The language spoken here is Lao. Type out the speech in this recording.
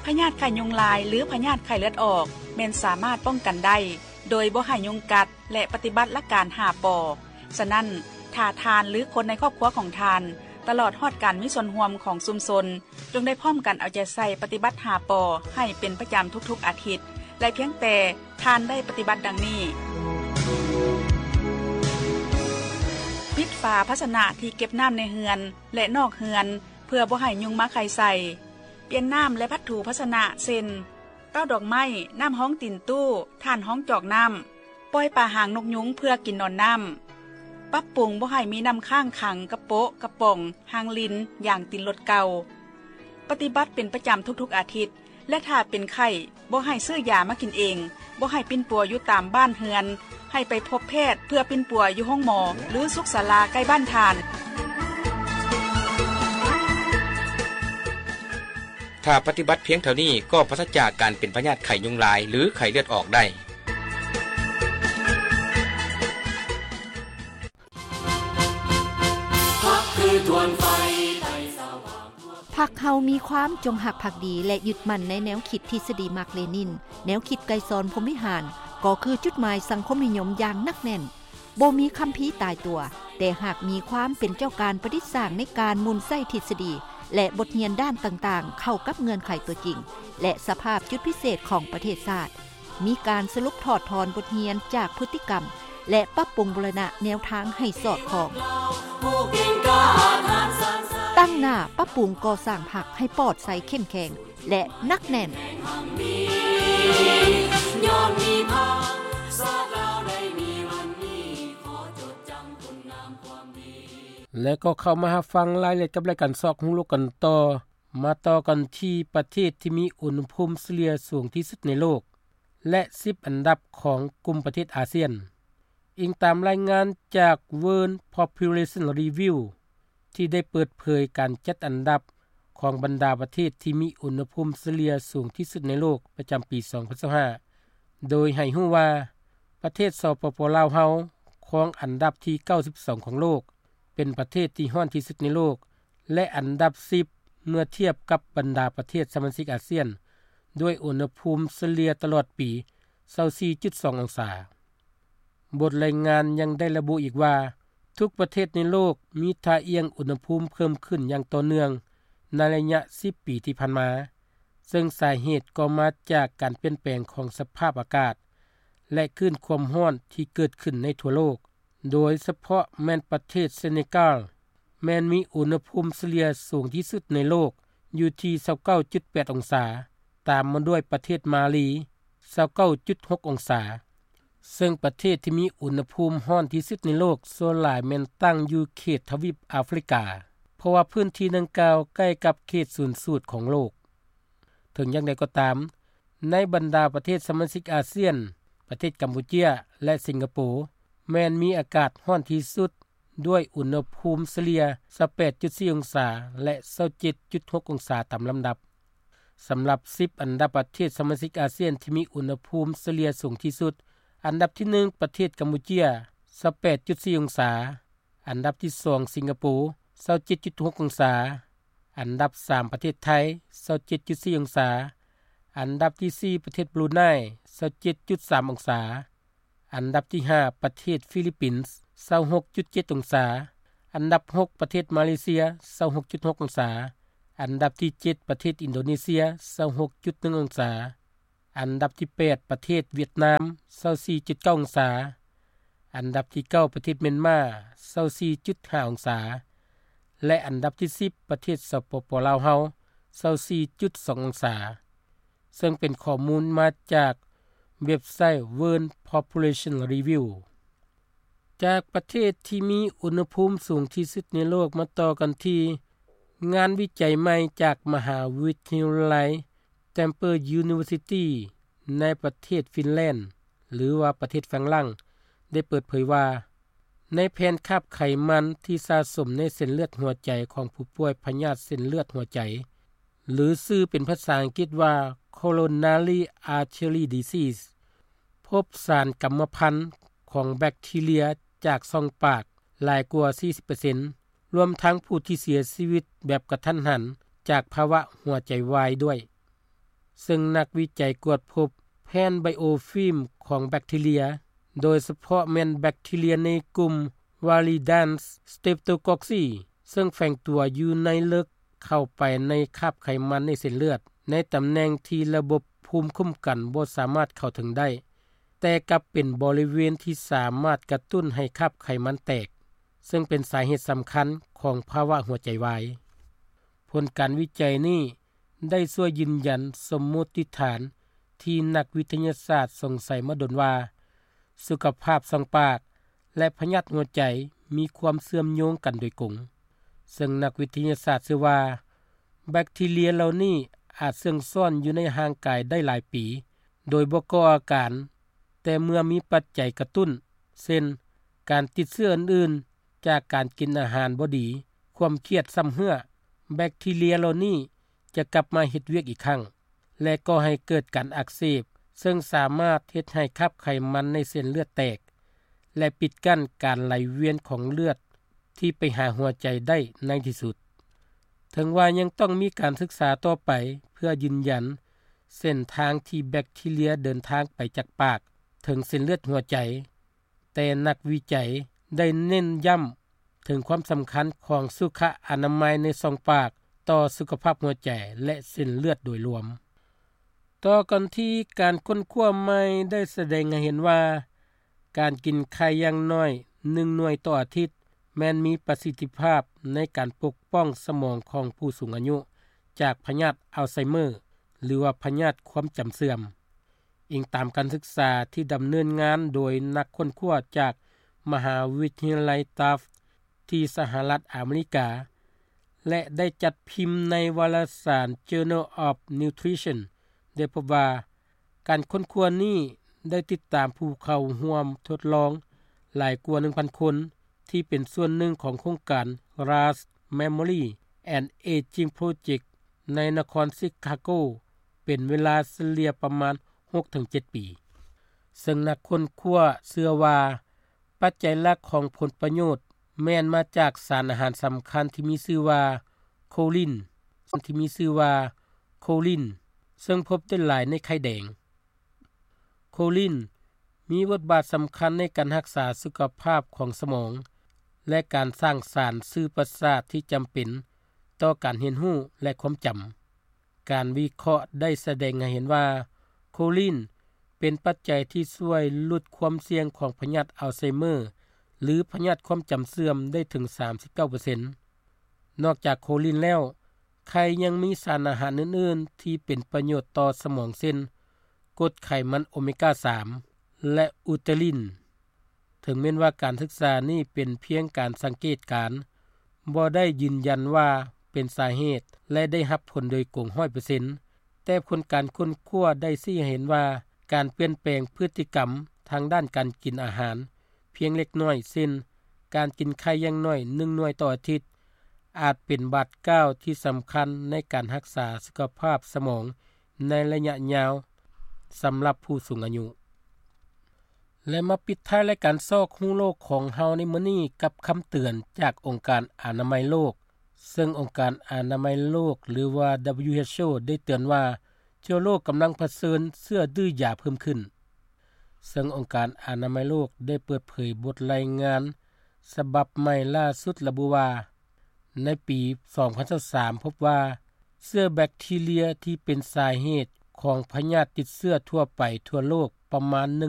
ພະຍາດໄຂ້ຍຸງລາຍ ຫຼື ພະຍາດໄຂ້ເລືອດອອກ ແມ່ນສາມາດປ້ອງກັນໄດ້ ໂດຍບໍ່ໃຫ້ຍຸງກັດ ແລະ ປະຕິບັດຫຼັກການຫ້າ ປ. ສະນັ້ນ, ຖ້າທ່ານ ຫຼື ຄົນໃນຄອບຄົວຂອງທ່ານ ຕະຫຼອດຮອດການມີສ່ວນຮ່ວມຂອງຊຸມຊົນ ຈົ່ງໄດ້ພ້ອມກັນເອົາໃຈໃສ່ປະຕິບັດຫ້າ ປ ໃຫ້ເປັນປະຈຳທຸກໆອາທິດ ແລະ ພຽງແຕ່ທ່ານໄດ້ປະຕິບັດດັ່ງນີ້: ປິດຝາພາຊະນະທີ່ເກັບນ້ຳໃນເຮືອນ ແລະ ນອກເຮືອນ ເພື່ອບໍ່ໃຫ້ຍຸງມາໄຂ່ໃສ່. ປ່ຽນນ້ຳ ແລະ ພັດຖູພາຊະນະ ເຊັ່ນ ເຕົ້າດອກໄມ້, ນ້ຳຮອງຕີນຕູ້, ຖ່ານຮອງຈອກນ້ຳ, ປ່ອຍປາຫາງນົກຍຸງເພື່ອກິນນອນນ້ຳ. ປັບປຸງບໍ່ໃຫ້ມີນ້ຳຄ້າງຂັງກະໂປະ, ກະປ໋ອງ, ຮາງລິນ, ຢາງຕີນລົດເກົ່າ. ປະຕິບັດເປັນປະຈຳທຸກໆອາທິດ ແລະ ຖ້າເປັນໄຂ້, ບໍ່ໃຫ້ຊື້ຢາມາກິນເອງ, ບໍ່ໃຫ້ປິ່ນປົວຢູ່ຕາມບ້ານເຮືອນ, ໃຫ້ໄປພົບແພດເພື່ອປິ່ນປົວຢູ່ໂຮງໝໍ ຫຼື ສຸກສາລາໃກ້ບ້ານທ່ານ. ຖ້າປະຕິບັດພຽງເທົ່ານີ້ ກໍປາສະຈາກການເປັນພະຍາດໄຂ້ຍຸງລາຍ ຫຼື ໄຂ້ເລືອດອອກໄດ້. ພັກຄືທວນໄຟໄດ້ສະຫວ່າງທົ່ວ. ພັກເຮົາມີຄວາມຈົງຮັກພັກດີ ແລະ ຍຶດໝັ້ນໃນແນວຄິດທິດສະດີມາກເລນິນ, ແນວຄິດໄກສອນພົມວິຫານ ກໍຄືຈຸດໝາຍສັງຄົມນິຍົມຢ່າງໜັກແໜ້ນ. ບໍ່ມີຄຳພີຕາຍຕົວ, ແຕ່ຫາກມີຄວາມເປັນເຈົ້າການປະດິດສ້າງໃນການໝູນໃຊ້ທິດສະດີ ແລະ ບົດຮຽນດ້ານຕ່າງໆ ເຂົ້າກັບເງື່ອນໄຂຕົວຈິງ ແລະ ສະພາບຈຸດພິເສດຂອງປະເທດຊາດ, ມີການສະຫຼຸບຖອດຖອນບົດຮຽນຈາກພຶດຕິກຳ ແລະ ປັບປຸງບູລະນະແນວທາງໃຫ້ສອດຄ່ອງ. ຕັ້ງໜ້າປັບປຸງກໍ່ສ້າງພັກໃຫ້ປອດໃສເຂັ້ມແຂງ ແລະ ໜັກແໜ້ນ. ແລະ ກໍເຂົ້າມາຮັບຟັງລາຍລະອຽດກັບລາຍການຊອກຮູ້ໂລກກັນຕໍ່. ມາຕໍ່ກັນທີ່ປະເທດທີ່ມີອຸນຫະພູມສະເລ່ຍສູງທີ່ສຸດໃນໂລກ ແລະ ສິບອັນດັບຂອງກຸ່ມປະເທດອາຊຽນ. ອີງຕາມລາຍງານຈາກ World Population Review ທີ່ໄດ້ເປີດເຜີຍການຈັດອັນດັບຂອງບັນດາປະເທດທີ່ມີອຸນຫະພູມສະເລ່ຍສູງທີ່ສຸດໃນໂລກປະຈຳປີສອງພັນຊາວຫ້າ ໂດຍໃຫ້ຮູ້ວ່າ ປະເທດ ສປປ ລາວ ເຮົາ ຄອງອັນດັບທີເກົ້າສິບສອງຂອງໂລກ, ເປັນປະເທດທີ່ຮ້ອນທີ່ສຸດໃນໂລກ ແລະ ອັນດັບສິບ ເມື່ອທຽບກັບບັນດາປະເທດສະມາຊິກອາຊຽນ ດ້ວຍອຸນຫະພູມສະເລ່ຍຕະຫຼອດປີ ຊາວສີ່ຈຸດສອງ ອົງສາ. ບົດລາຍງານຍັງໄດ້ລະບຸອີກວ່າ ທຸກປະເທດໃນໂລກມີທ່າອ່ຽງອຸນຫະພູມເພີ່ມຂຶ້ນຢ່າງຕໍ່ເນື່ອງໃນໄລຍະສິບປີທີ່ຜ່ານມາ, ເຊິ່ງສາເຫດກໍມາຈາກການປ່ຽນແປງຂອງສະພາບອາກາດ ແລະ ຄື້ນຄວາມຮ້ອນທີ່ເກີດຂຶ້ນໃນທົ່ວໂລກ, ໂດຍສະເພາະແມ່ນປະເທດເຊເນກາລ ແມ່ນມີອຸນຫະພູມສະເລ່ຍສູງທີ່ສຸດໃນໂລກ ຢູ່ທີ່ ຊາວເກົ້າຈຸດແປດ ອົງສາ, ຕາມມາດ້ວຍປະເທດມາລີ ຊາວເກົ້າຈຸດຫົກ ອົງສາ. ເຊິ່ງປະເທດທີ່ມີອຸນຫະພູມຮ້ອນທີ່ສຸດໃນໂລກສ່ວນຫຼາຍແມ່ນຕັ້ງຢູ່ເຂດທະວີບອາຟຣິກາ, ເພາະວ່າພື້ນທີ່ດັ່ງກ່າວໃກ້ກັບເຂດສູນສູດຂອງໂລກ. ເຖິງຢ່າງໃດກໍຕາມ, ໃນບັນດາປະເທດສະມາຊິກອາຊຽນ, ປະເທດກຳປູເຈຍ ແລະ ສິງກະໂປ ແມ່ນມີອາກາດຮ້ອນທີ່ສຸດ ດ້ວຍອຸນຫະພູມສະເລ່ຍ ຊາວແປດຈຸດສີ່ ອົງສາ ແລະ ຊາວເຈັດຈຸດຫົກ ອົງສາຕາມລຳດັບ. ສຳລັບສິບອັນດັບປະເທດສະມາຊິກອາຊຽນທີ່ມີອຸນຫະພູມສະເລ່ຍສູງທີ່ສຸດ, ອັນດັບທີໜຶ່ງ ປະເທດກຳປູເຈຍ ຊາວແປດຈຸດສີ່ ອົງສາ, ອັນດັບທີສອງ ສິງກະໂປ ຊາວເຈັດຈຸດຫົກ ອົງສາ, ອັນດັບສາມ ປະເທດໄທ ຊາວເຈັດຈຸດສີ່ ອົງສາ, ອັນດັບທີສີ່ ປະເທດບຣູໄນ ຊາວເຈັດຈຸດສາມ ອົງສາ, ອັນດັບທີຫ້າ ປະເທດຟີລິບປິນ ຊາວຫົກຈຸດເຈັດ ອົງສາ, ອັນດັບຫົກ ປະເທດມາເລເຊຍ ຊາວຫົກຈຸດຫົກ ອົງສາ, ອັນດັບທີເຈັດ ປະເທດອິນໂດເນເຊຍ ຊາວຫົກຈຸດໜຶ່ງ ອົງສາ, ອັນດັບທີແປດ ປະເທດຫວຽດນາມ ຊາວສີ່ຈຸດເກົ້າ ອົງສາ, ອັນດັບທີເກົ້າ ປະເທດມຽນມາ ຊາວສີ່ຈຸດຫ້າ ອົງສາ, ແລະ ອັນດັບທີສິບ ປະເທດ ສປປ ລາວ ເຮົາ ຊາວສີ່ຈຸດສອງ ອົງສາ. ເຊິ່ງເປັນຂໍ້ມູນມາຈາກເວັບໄຊ World Population Review. ຈາກປະເທດທີ່ມີອຸນຫະພູມສູງທີ່ສຸດໃນໂລກ ມາຕໍ່ກັນທີ່ງານວິໄຈໃໝ່ຈາກມະຫາວິທະຍາໄລ Tampere University ໃນປະເທດຟິນແລນ ຫຼືວ່າປະເທດຝຣັ່ງ ໄດ້ເປີດເຜີຍວ່າ ໃນແຜ່ນຄາບໄຂມັນທີ່ສະສົມໃນເສັ້ນເລືອດຫົວໃຈຂອງຜູ້ປ່ວຍພະຍາດເສັ້ນເລືອດຫົວໃຈ ຫຼື ຊື່ເປັນພາສາອັງກິດວ່າ Coronary Artery Disease ພົບສານກຳມະພັນຂອງແບັກທີເຣຍຈາກຊ່ອງປາກຫຼາຍກວ່າສີ່ສິບເປີເຊັນ, ລວມທັງຜູ້ທີ່ເສຍຊີວິດແບບກະທັນຫັນຈາກພາວະຫົວໃຈວາຍດ້ວຍ. ເຊິ່ງນັກວິໄຈກວດພົບແຜ່ນໄບໂອຟິມຂອງແບັກທີເຣຍ ໂດຍສະເພາະແມ່ນແບັກທີເຣຍໃນກຸ່ມ Viridae Streptococcus ເຊິ່ງແຝງຕົວຢູ່ໃນເລິກເຂົ້າໄປໃນຄາບໄຂມັນໃນເສັ້ນເລືອດ ໃນຕຳແໜ່ງທີ່ລະບົບພູມຄຸ້ມກັນບໍ່ສາມາດເຂົ້າເຖິງໄດ້, ແຕ່ກັບເປັນບໍລິເວນທີ່ສາມາດກະຕຸ້ນໃຫ້ຄາບໄຂມັນແຕກ, ເຊິ່ງເປັນສາເຫດສຳຄັນຂອງພາວະຫົວໃຈວາຍ. ຜົນການວິໄຈນີ້ໄດ້ຊ່ວຍຢືນຢັນສົມມຸດຕິຖານທີ່ນັກວິທະຍາສາດສົງໄສມາດົນວ່າ ສຸຂະພາບຊ່ອງປາກ ແລະ ພະຍາດຫົວໃຈມີຄວາມເຊື່ອມໂຍງກັນໂດຍກົງ, ເຊິ່ງນັກວິທະຍາສາດເຊື່ອວ່າ ແບັກທີເຣຍເຫຼົ່ານີ້ອາດເຊື່ອງຊ້ອນຢູ່ໃນຮ່າງກາຍໄດ້ຫຼາຍປີ ໂດຍບໍ່ກໍ່ອາການ, ແຕ່ເມື່ອມີປັດໄຈກະຕຸ້ນ ເຊັ່ນ ການຕິດເຊື້ອອື່ນໆ ຈາກການກິນອາຫານບໍ່ດີ, ຄວາມຄຽດຊ້ຳເຮື້ອ, ແບັກທີເຣຍເຫຼົ່ານີ້ຈະກັບມາເຮັດວຽກອີກຄັ້ງ ແລະ ກໍ່ໃຫ້ເກີດການອັກເສບ, ເຊິ່ງສາມາດເຮັດໃຫ້ຄາບໄຂມັນໃນເສັ້ນເລືອດແຕກ ແລະ ປິດກັ້ນການໄຫຼວຽນຂອງເລືອດທີ່ໄປຫາຫົວໃຈໄດ້ໃນທີ່ສຸດ. ເຖິງວ່າຍັງຕ້ອງມີການສຶກສາຕໍ່ໄປເພື່ອຢືນຢັນເສັ້ນທາງທີ່ແບັກທີເຣຍເດີນທາງໄປຈາກປາກເຖິງເສັ້ນເລືອດຫົວໃຈ, ແຕ່ນັກວິໄຈໄດ້ເນັ້ນຢ້ຳເຖິງຄວາມສຳຄັນຂອງສຸຂະອະນາໄມໃນຊ່ອງປາກຕໍ່ສຸຂະພາບຫົວໃຈ ແລະ ເສັ້ນເລືອດໂດຍລວມ. ຕໍ່ກັນທີ່ການຄົ້ນຄວ້າໃໝ່ໄດ້ສະແດງໃຫ້ເຫັນວ່າ ການກິນໄຂ່ຢ່າງໜ້ອຍໜຶ່ງໜ່ວຍຕໍ່ອາທິດ ແມ່ນມີປະສິດທິພາບໃນການປົກປ້ອງສະໝອງຂອງຜູ້ສູງອາຍຸຈາກພະຍາດອັລໄຊເມີ ຫຼືວ່າພະຍາດຄວາມຈຳເສື່ອມ. ອີງຕາມການສຶກສາທີ່ດຳເນີນງານໂດຍນັກຄົ້ນຄວ້າຈາກມະຫາວິທະຍາໄລ Tufts ທີ່ສະຫະລັດອາເມລິກາ ແລະ ໄດ້ຈັດພິມໃນວາລະສານ Journal of Nutrition ໄດ້ພົບວ່າ ການຄົ້ນຄວ້ານີ້ໄດ້ຕິດຕາມຜູ້ເຂົ້າຮ່ວມທົດລອງຫຼາຍກວ່າໜຶ່ງພັນຄົນ ທີ່ເປັນສ່ວນໜຶ່ງຂອງໂຄງການ Roush Memory and Aging Project ໃນນະຄອນຊິຄາໂກ ເປັນເວລາສະເລ່ຍປະມານຫົກເຖິງເຈັດປີ. ເຊິ່ງນັກຄົ້ນຄວ້າເຊື່ອວ່າ ປັດໄຈຫຼັກຂອງຜົນປະໂຫຍດແມ່ນມາຈາກສານອາຫານສຳຄັນທີ່ມີຊື່ວ່າໂຄລິນ, ທີ່ມີຊື່ວ່າໂຄລິນ, ເຊິ່ງພົບໄດ້ຫຼາຍໃນໄຂ່ແດງ. ໂຄລິນມີບົດບາດສຳຄັນໃນການຮັກສາສຸຂະພາບຂອງສະໝອງ ແລະ ການສ້າງສານສື່ປະສາດທີ່ຈຳເປັນຕໍ່ການຮຽນຮູ້ ແລະ ຄວາມຈຳ. ການວິເຄາະໄດ້ສະແດງໃຫ້ເຫັນວ່າ ໂຄລິນເປັນປັດໄຈທີ່ຊ່ວຍຫຼຸດຄວາມສ່ຽງຂອງພະຍາດອັລໄຊເມີ ຫຼື ພະຍາດຄວາມຈຳເສື່ອມໄດ້ເຖິງສາມສິບເກົ້າເປີເຊັນ. ນອກຈາກໂຄລິນແລ້ວ, ໄຂ່ຍັງມີສານອາຫານອື່ນໆທີ່ເປັນປະໂຫຍດຕໍ່ສະໝອງ ເຊັ່ນ ກົດໄຂມັນໂອເມກາສາມ ແລະ ອຸເຕລິນ. ເຖິງແມ່ນວ່າການສຶກສານີ້ເປັນພຽງການສັງເກດການ, ບໍ່ໄດ້ຢືນຢັນວ່າເປັນສາເຫດ ແລະ ໄດ້ຮັບຜົນໂດຍກົງຮ້ອຍເປີເຊັນ, ແຕ່ຜົນການຄົ້ນຄວ້າໄດ້ຊີ້ໃຫ້ເຫັນວ່າ ການປ່ຽນແປງພຶດຕິກຳທາງດ້ານການກິນອາຫານພຽງເລັກນ້ອຍ, ເຊັ່ນ ການກິນໄຂ່ຢ່າງໜ້ອຍໜຶ່ງໜ່ວຍຕໍ່ອາທິດ, ອາດເປັນບາດກ້າວທີ່ສຳຄັນໃນການຮັກສາສຸຂະພາບສະໝອງໃນໄລຍະຍາວສຳລັບຜູ້ສູງອາຍຸ. ແລະ ມາປິດທ້າຍລາຍການຊອກຮູ້ໂລກຂອງເຮົາໃນມື້ນີ້ກັບຄຳເຕືອນຈາກອົງການອະນາໄມໂລກ, ເຊິ່ງອົງການອະນາໄມໂລກ ຫຼືວ່າ WHO ໄດ້ເຕືອນວ່າ ທົ່ວໂລກກຳລັງປະເຊີນເຊື້ອດື້ຢາເພີ່ມຂຶ້ນ. ເຊິ່ງອົງການອະນາໄມໂລກໄດ້ເປີດເຜີຍບົດລາຍງານສະບັບໃໝ່ລ່າສຸດລະບຸວ່າ ໃນປີສອງພັນຊາວສາມ ພົບວ່າເຊື້ອແບັກທີເຣຍທີ່ເປັນສາເຫດຂອງພະຍາດຕິດເຊື້ອທົ່ວໄປທົ່ວໂລກປະມານໜຶ່ງ